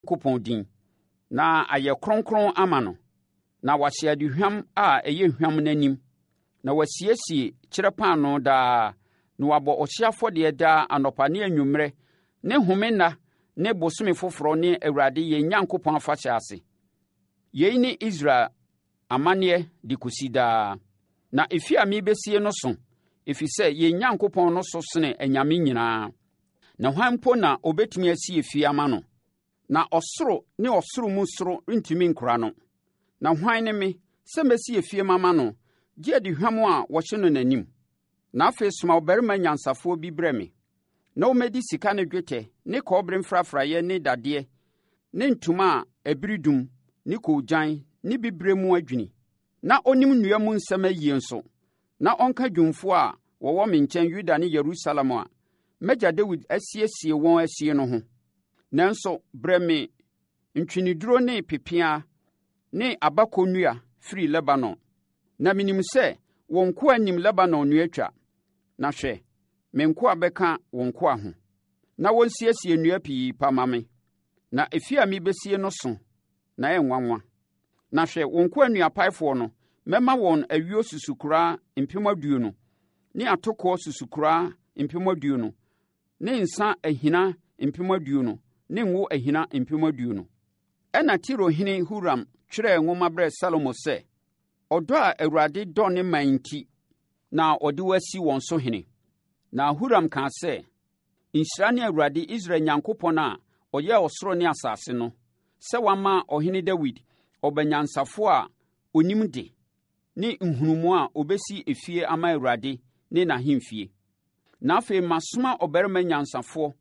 Onyankopɔn din, na ayɛ kronkron ama no, na wahye aduhwam a ɛyɛ hwam n'anim, na wasiesie kyerɛ paanoo daa, na wabɔ ɔhyeɛ afɔdeɛ daa anɔpa ne anwummerɛ ne home nna ne bosome foforɔ ne Awurade yɛn Nyankopɔn afahyɛ ase. Yei ne Israel amanneɛ de kɔsi daa. Na efie a merebɛsie no so, ɛfiri sɛ yɛn Nyankopɔn no so sene anyame nyinaa. Na hwan mpo na ɔbɛtumi asi efie ama no? Na ɔsoro ne ɔsoro mu soro rentumi nkora no. Na hwan ne me sɛ mɛsi efie mama no, gye aduhwam a wɔhye no n'anim? Na afei soma ɔbarima nyansafoɔ bi brɛ me, na ɔmmɛdi sika ne dwetɛ ne kɔbere mfrafraeɛ ne dadeɛ ne ntoma a ɛbere dum ne koogyan ne bibire mu adwini, na ɔnim nnua mu nsɛm ayie nso, na ɔnka dwumfoɔ a wɔwɔ me nkyɛn Yuda ne Yerusalem a m'agya Dawid asiesie wɔn asie no ho. Nanso brɛ me ntweneduro ne pepeaa ne abako nnua firi Lebanon. Na menim sɛ wo nkoa nim Lebanon nnua twa. Na hwɛ, me nkoa bɛka wo nkoa ho, na wɔnsiesie nnua pii pa ma me. Na efie a mebesie no so na ɛyɛ nwanwa. Na hwɛ, wo nkoa nnuapaefoɔ no, mɛma wɔn ayuo susukoraa 20,000 ne atokoɔ susukoraa 20,000 ne nsã ahina 20,000 ne ngo ahina 20,000. Ɛnna Tirohene Huram twerɛɛ nwoma brɛɛ Salomo sɛ, Ɔdɔ a Awurade dɔ ne man nti na ɔde wo asi wɔn so hene. Na Huram kaa sɛ, Nhyira ne Awurade Israel Nyankopɔn a ɔyɛɛ ɔsoro ne asase no, sɛ wama ɔhene Dawid ɔba nyansafoɔ a ɔnim de ne nhunumu a ɔbɛsi efie ama Awurade ne n'ahemfie. Na afei masoma ɔbarima nyansafoɔ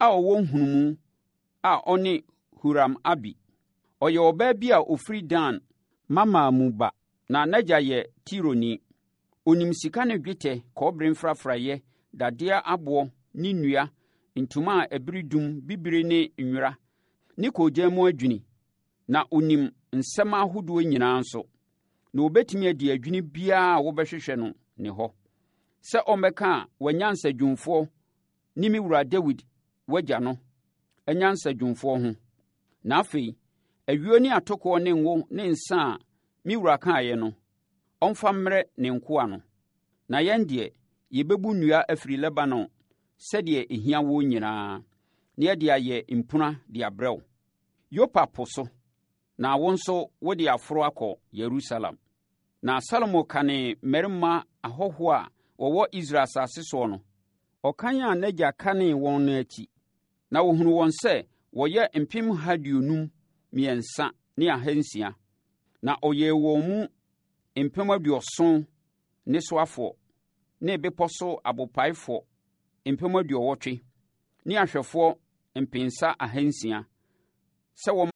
a ɔwɔ nhunumu a ɔne Huram Abi. Ɔyɛ ɔbaa bi a ɔfiri Dan mmammaa mu ba, na n'agya yɛ Tironi. Ɔnim sika ne dwetɛ, kɔbere mfrafraeɛ, dadeɛ aboɔ ne nnua, ntoma a ɛbere dum, bibire ne nwera, ne koogyan mu adwini. Na ɔnim nsɛm ahodoɔ nyinaa nso, na ɔbɛtumi adi adwini biara a wobɛhwehwɛ no ne hɔ, sɛ ɔmmɛka w'anyansadwumfoɔ ne me wura Dawid w'agya no anyansadwumfoɔ ho. Na afei, ayuo ne atokoɔ ne ngo ne nsã a me wura kaeɛ no, ɔmfa mmrɛ ne nkoa no. Na yɛn deɛ, yɛbɛbu nnua afiri Lebanon sɛdeɛ ɛhia woɔ nyinaa, na yɛde ayɛ mpuna de abrɛ wo. Yopa po so, na wo nso wode aforo akɔ Yerusalem. Na Salomo kanee mmarima ahɔhoɔ a wɔwɔ Israel asase soɔ no, ɔkan a n'agya kanee wɔn no akyi, na wɔhunuu wɔn sɛ wɔyɛ 253,600. Na ɔyɛɛ wɔn mu 70,000 nnesoafoɔ, ne bepɔ so abopaefoɔ 80,000 ne ahwɛfoɔ 600 sɛ wɔn.